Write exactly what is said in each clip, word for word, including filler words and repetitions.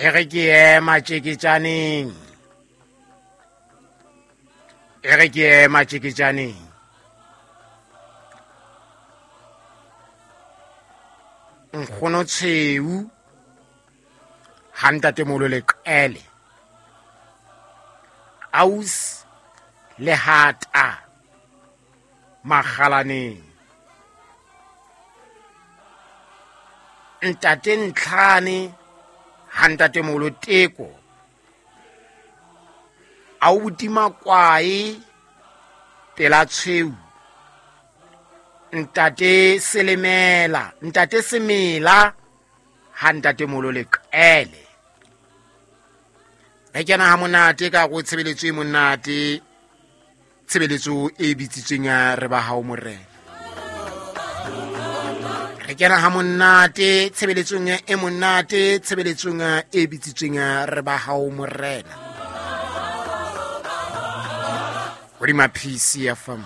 E re ke ema tjeketjaneng, e re ke ema tjeketjaneng. Nkgono Tshweu ha ntatemoholo Leqele, aus Lehata Makgalaneng, ntate Ntlhane ha ntatemoholo Teko, aubuti Makwae pela Tshweu, ntate Selemela, ntate Semela ha ntatemoholo Leqele. Re kena ha monate ka go tshebeletso e monate, tshebeletso e bitsitsweng ya re ba hao morena. Re kena ha monate tshebeletsong e monate, tshebeletsong e bitsitsweng ya re ba hao morena. Hodima P C F M.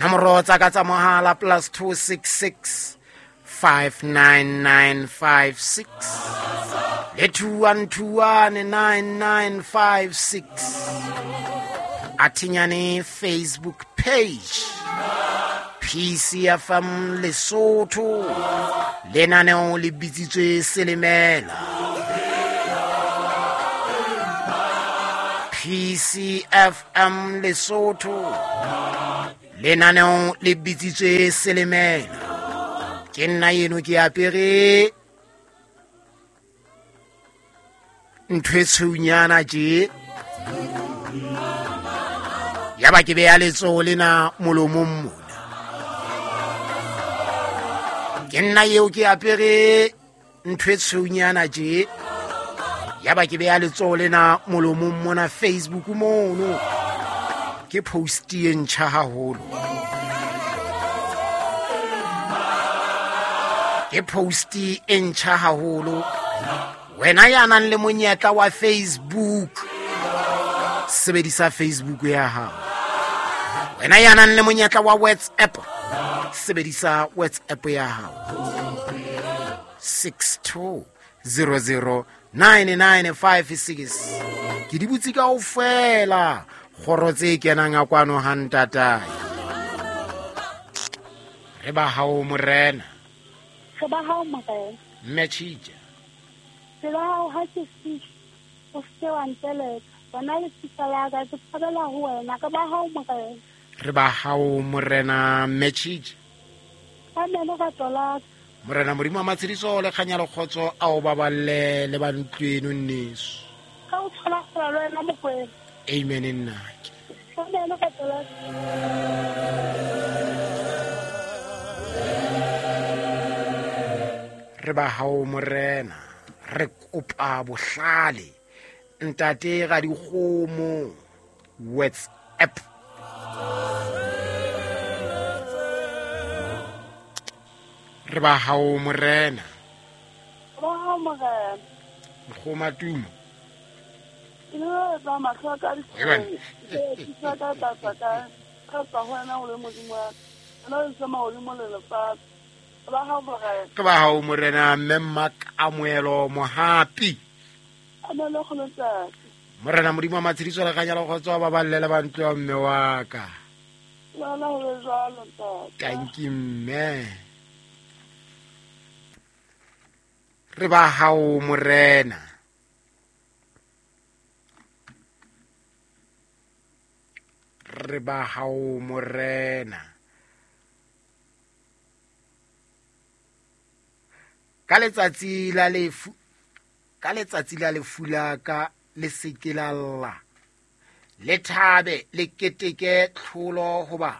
Nomoro tsa ka tsa mohala plus two six six five nine nine five six le two one two one nine nine five six. Athinyane Facebook page P C F M Lesotho, lenaneo le bitsitswe Selemela. P C F M Lesotho, lenaneo le bitsitswe Selemela. Ke nna eno ke apere ntho e tshweunyana tje, ya ba ke beya letsoho lena molomong mona. Ke nna eo ke apere ntho e tshweunyana tje, ya ba ke beya letsoho lena molomong mona Facebook mono. Ke post e ntjha haholo, ke post e ntjha haholo. Wena ya nang le monyetla wa Facebook, sebedisa Facebook ya hao. Wena ya nang le monyetla wa WhatsApp, sebedisa WhatsApp ya hao. six two zero zero nine nine five six. Ke di butse kaofela kgoro tse kenang a kwano ha ntatae. Re ba hao morena, re ba hao morena. Mme Tjhija, re ba hao ha ke fihla, o se wa nteleka. Bona lefika la ka, ke tshabela ho wena. Re ba hao morena, re ba hao morena. Mme Tjhija, amen. Rato la ka morena Modimo wa matshediso le kganya le kgotso a o baballe le ba ntlo eno nneso. Ka o tshola kgola le wena Mokwena. Amen nnake. Amen rato la ka. Re ba hao morena, re kopa bohlale ntate ga dikgomo WhatsApp. Re ba hao morena, re ba hao morena. Nkgoma tumo ke le tsa mahlo ka Eban. di tsa ka tsa tsa ka ka tsa ho wena o le Modimo wa ka. Nna le tsama hodimo le lefatshe. Re ba hao morena, ke ba hao morena. Mme Mmakamoelo Mohapi, amen le kgolo ntate. Morena Modimo wa matshediso le kganya le kgotso a baballe le ba ntlo ya mme wa ka. Le wena ho be jwalo ntate. Tanki mme. Re ba hao morena. Re ba hao morena. Ka letsatsi la lefu, ka letsatsi la lefu la ka le se ke la lla, le thabe le keteke tlholo, hoba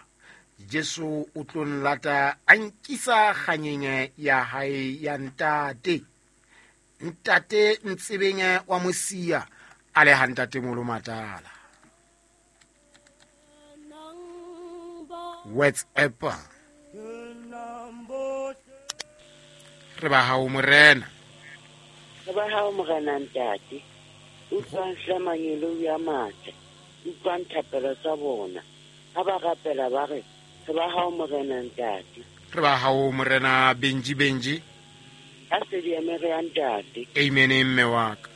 Jesu o tlo nlata a nkisa kganyeng ya hae ya ntate. Ntate Ntsebeng wa Mosia a le ha ntatemoholo Matala. WhatsApp. Re ba hao morena, re ba hao morena ntate. Utlwang hle mangeloi a matle, utlwang thapelo tsa bona ha ba rapela ba re re ba hao morena ntate. Re ba hao morena Benji Benji. Ka sedi ya mere ya ntate. Amen mme wa ka.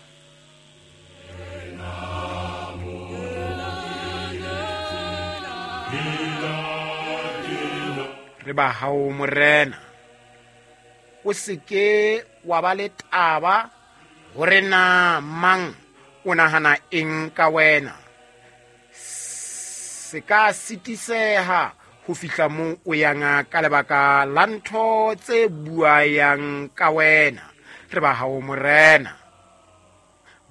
Re ba hao morena, o seke wa ba le taba hore na mang o nahana eng ka wena. Se ka sitiseha ho fihla moo o yang ka lebaka la ntho tse buayang ka wena. Re ba hao morena.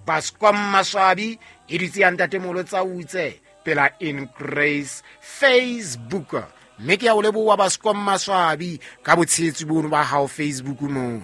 Bascom Maswabi e dutse ya ntatemolo tsa utse pela In Grace Facebook. Mme ke a o leboha Bascom Maswabi ka botshehetsi bono ba hao Facebook mono.